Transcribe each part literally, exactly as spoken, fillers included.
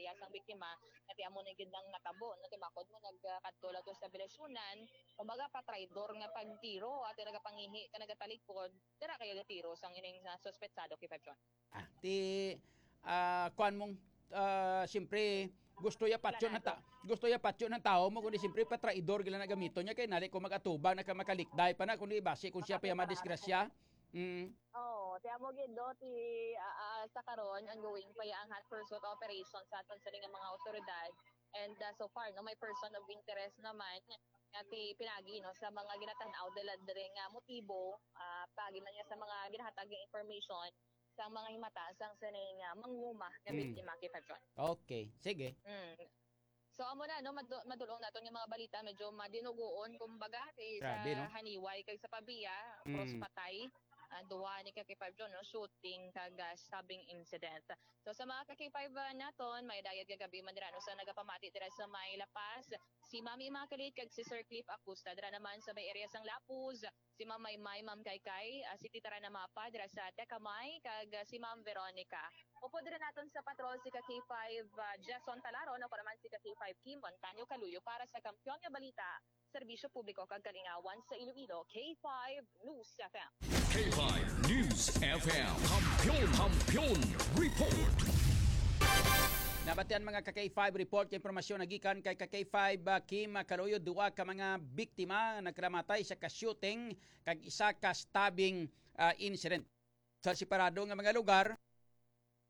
pamilya sang biktima, nga ti amo ni gid ang natabo, no, ti makod mo nagkadto lang to sa Belacionan, kumbaga pa traidor nga pagtiro, at nagapangihi ka nagatalikod, dira kay gatiro sang ining, ah, suspetsado, K five John. Ah, ti, ah, kuan mong, ah, siyempre, gusto ya patyon ng ta-, gusto ya patyon ng tao mo, kundi siyempre patraidor gila na gamiton niya, kay nali ko mag-atubang na ka makalikday pa na, kundi basi kung siya pa ya madisgrasya. Mm. Oo, ti amo gid, no, ti, ah, ah, sa karon, ongoing pa ya ang hot pursuit operation sa aton sa nga mga otoridad. And, ah, so far, no, may person of interest naman nga ti pinagi, no, sa mga ginatanaw dala diri nga motibo, ah, pagi man niya sa mga ginahatag nga information sa mga himata sang sining, ah, manguma nga Mm. biktima, K five John. Okay, sige. Mm. So, amo na, no, madu-, madulong naton nga mga balita, medyo madinugoon, kumbaga, ti sa Grabe, no? Haniway kag sa Pavia, Mm. cross patay, ah, duha ni ka K five John, no, shooting kag, ah, stabbing incident. So, sa mga ka K five, ah, naton, may dayat kagabi man dira, no, sa nagapamati dira sa may La Paz, si Mami Immaculate kag si Sir Cliff Acusta, dira naman sa may area sang Lapuz, si Ma'am Maymay, Ma'am Kaykay, ah, si Tita Rana Mapa dira sa Tecamay, kag, ah, si Ma'am Veronica. Upod diri naton sa patrol si ka K five, ah, Jason Talaron, ako naman si ka K five Kim Montaño Kaluyo para sa Kampiyon nga Balita, Serbisyo Publiko kag Kalingawan sa Iloilo, K five News F M. K five News F M. Kampiyon, Kampiyon Report. Nabatian mga ka K five report kay impormasyon nagikan kay ka K five, ah, Kim Kaluyo, duha ka mga biktima nagkalamatay sa ka-shooting kag isa ka stabbing, ah, incident sa separado nga mga lugar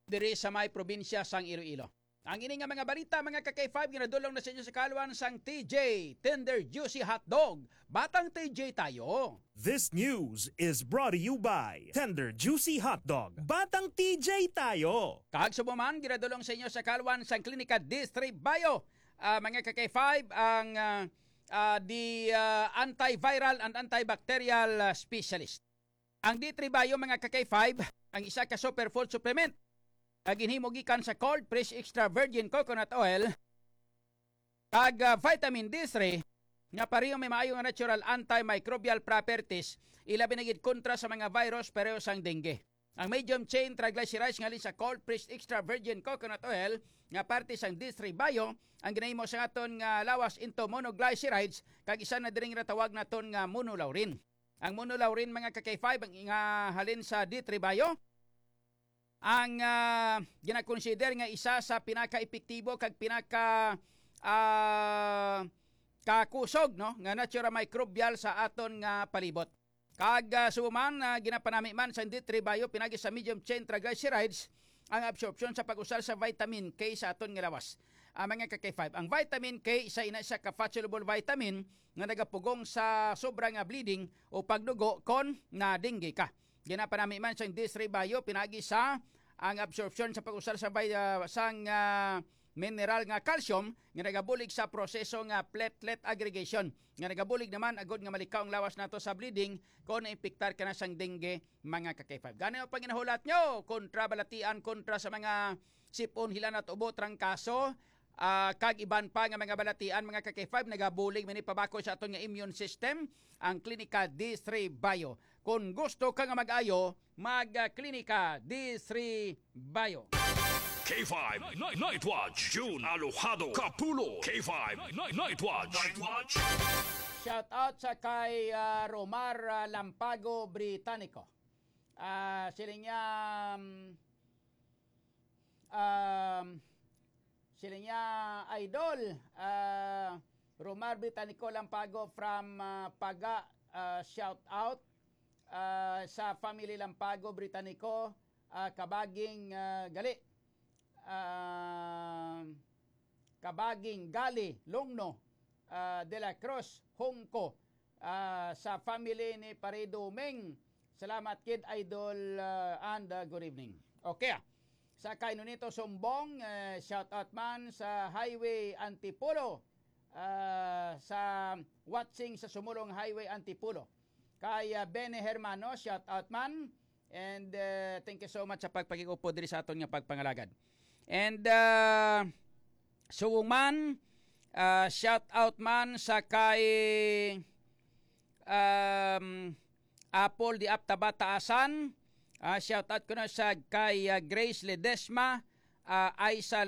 diri sa may probinsya sang Iloilo. Ang ini nga mga balita, mga ka K five, ginadulong na sa inyo sa kalwan sang T J Tender Juicy Hotdog. Batang T J tayo. This news is brought to you by Tender Juicy Hotdog. Batang T J tayo. Kag subong man, ginadulong sa inyo sa kalwan sang Klinika D three Bio. Ah, mga ka K five, ang, ah, ah, di, ah, antiviral and antibacterial, ah, specialist. Ang D three Bio, mga ka K five, ang isa ka superfood supplement nga ginhimo gikan sa cold pressed extra virgin coconut oil kag, ah, vitamin D three nga pareho may maayo nga natural antimicrobial properties, ilabi na gid kontra sa mga virus pareho sang dengue. Ang medium chain triglycerides nga halin sa cold pressed extra virgin coconut oil nga parte sang D three Bio ang ginahimo sa aton nga lawas into monoglycerides kag isa na diri nga tawag naton nga monolaurin. Ang monolaurin, mga ka K five, ang nga halin sa D three Bio, ang, ah, ginakonsider nga isa sa pinaka-epektibo kag pinaka, ah, kakusog, no, nga natural microbial sa aton nga palibot. Kag, ah, subong man, ah, ginapanami man sa D three Bio pinagi sa medium chain triglycerides ang absorption sa pag-usar sa vitamin K sa aton nga lawas. Ah, mga ka K five, ang vitamin K isa ina siya ka fat-soluble vitamin nga nagapugong sa sobra nga bleeding o pagdugo kon na dengue ka. Ginapanami man sang D three Bio pinagi sa ang absorption sa pag-usar sa vi-, ah, sang, ah, mineral nga calcium nga nagabulig sa proseso nga platelet aggregation, nga nagabulig naman agud nga malikaw ang lawas nato sa bleeding kon naimpiktar ka na sang dengue, mga ka K five. Gani ang panginahulat nyo kontra balatian, kontra sa mga sipon, hilanat, ubo, trangkaso, ah, kag iban pa nga mga balatian, mga ka K five, nagabulig man ni pabakod sa aton nga immune system, ang Klinika D three Bio. Kung gusto ka nga mag-ayo, mag, ah, Klinika D three Bio. K five Night, Night Watch, June Alojado Kapulo. K five Night, Night Watch. Night Watch. Shout out sa kay, ah, Romar, ah, Lampago Britannico. Ah, siling niya, um, um, siling niya, Idol, ah, Romar Britannico Lampago from, ah, Paga, ah, shout out, ah, sa family Lampago Britannico, ah, Kabaging, ah, gali. Ah, Kabaging, Gali, Longno, ah, De La Cruz, Hongco, ah, sa family ni Pare Doming. Salamat kid, Idol, ah, and, ah, good evening. Okay, ah. Sa kay Nonito Sumbong, eh, shout out man sa Highway Antipolo, ah, sa watching sa Sumulong Highway Antipolo. Kay, ah, Bene Hermano, shout out man. And, uh, thank you so much sa pagpakig-upod diri sa aton nga pagpangalagad. And, uh, subong man, uh, shout out man sa kay, um, Apple di Aptaba Taasan. Uh, shout out ko na sa kay, uh, Grace Ledesma, uh, Aisa